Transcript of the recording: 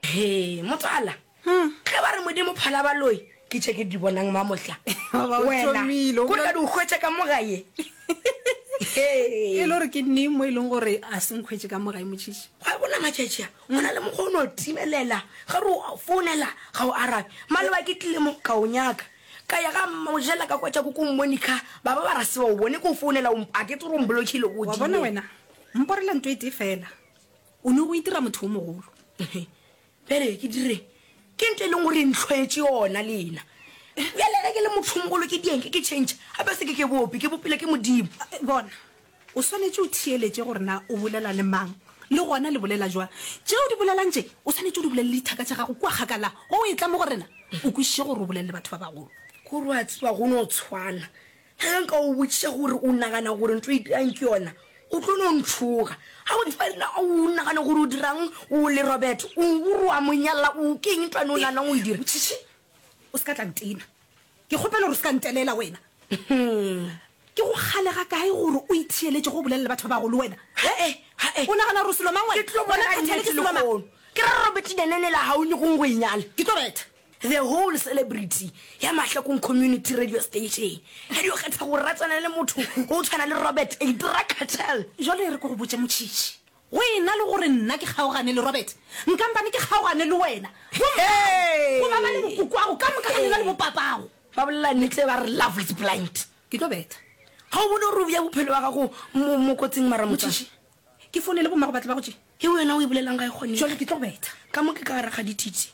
He, motswala, ge ba re Modimo phala baloi, ke tše ke di bonang mamohla. Ba o Wena, thomile, o kore ka bolela- di o hwetša ka mo gae. E le gore ke neng mo e leng gore a se nkhwetše ka mo gae motšhitšhi? Gwa bona matšatši a, go na le mokgwa o no timelela, ge re o founela ga o arabe. Maloba ke tlile mo, ka o nyaka. Ka ya ga mmamojela ka kwetša koko Monica, ba ba ba ra se ba o bone ke o founela, o a ke tsebe gore o mblockile o Wa bona dimela. wena, mporela nto e tee fela. O ne go itira motho o mogolo. Bjale ke dire ke nto e leng gore ntlhoetše yona lena. Bjale ge ke le motho o mogolo ke dieng ke ke change gape se ke ke bope ke bopile ke Modimo. Bona, o swanetše o theeletše gore na o bolela le mang le gona le bolela jwang. Tše o di bolelang tše o swanetše o di bolele le dithaka tša gago kua kgakala. Ge o etla mo go rena o kwešiše gore o bolele le batho ba bagolo. Kore wa tseba go no tshwana Ge nka o botšiša gore o nagana gore ntho e dirang ke yona, o tlo no ntšhoga. Ga o tseba na o nagana gore o dirang o le Robert, o o re wa mo nyala, o ke eng ntwane o naganang o e dira? Motšhitšhi, o se ka tla ntena. Ke kgopela gore o se ka ntelela wena. Ke go kgale ga kae gore o itheeletše go bolela le batho ba bagolo wena? He-e, he-e. O nagana gore o selo mang wena? Ke tlo Gona bolela Khathele ke nnete selo mang? lehono. Ke ra Robert Nenenela ga o nyakong go e nyala. Ke tlo betha. The whole celebrity ya Mahlakong Community Radio Station ya dio kgetha go ratsana le motho go tshwana le Robert a drug cartel. Jwale e re ke go botše Motšhitšhi, go e na le gore nna ke kgaogane le Robert, nkampane ke kgaogane le wena, bommago, goba ba le bokokoago ka moka ga lena le bopapago. Ba bolela nnete ba re love is blind. Ke tlo betha. Ga o bone gore o bea bophelo bja gago mo kotsing mara motswadi? Motšhitšhi, ke founele bommago ba tle ba go tšee. Ye wena o e bolelang ga e kgonege. Jwale ke tlo betha. Ka mo ke ka gare ga dithiti.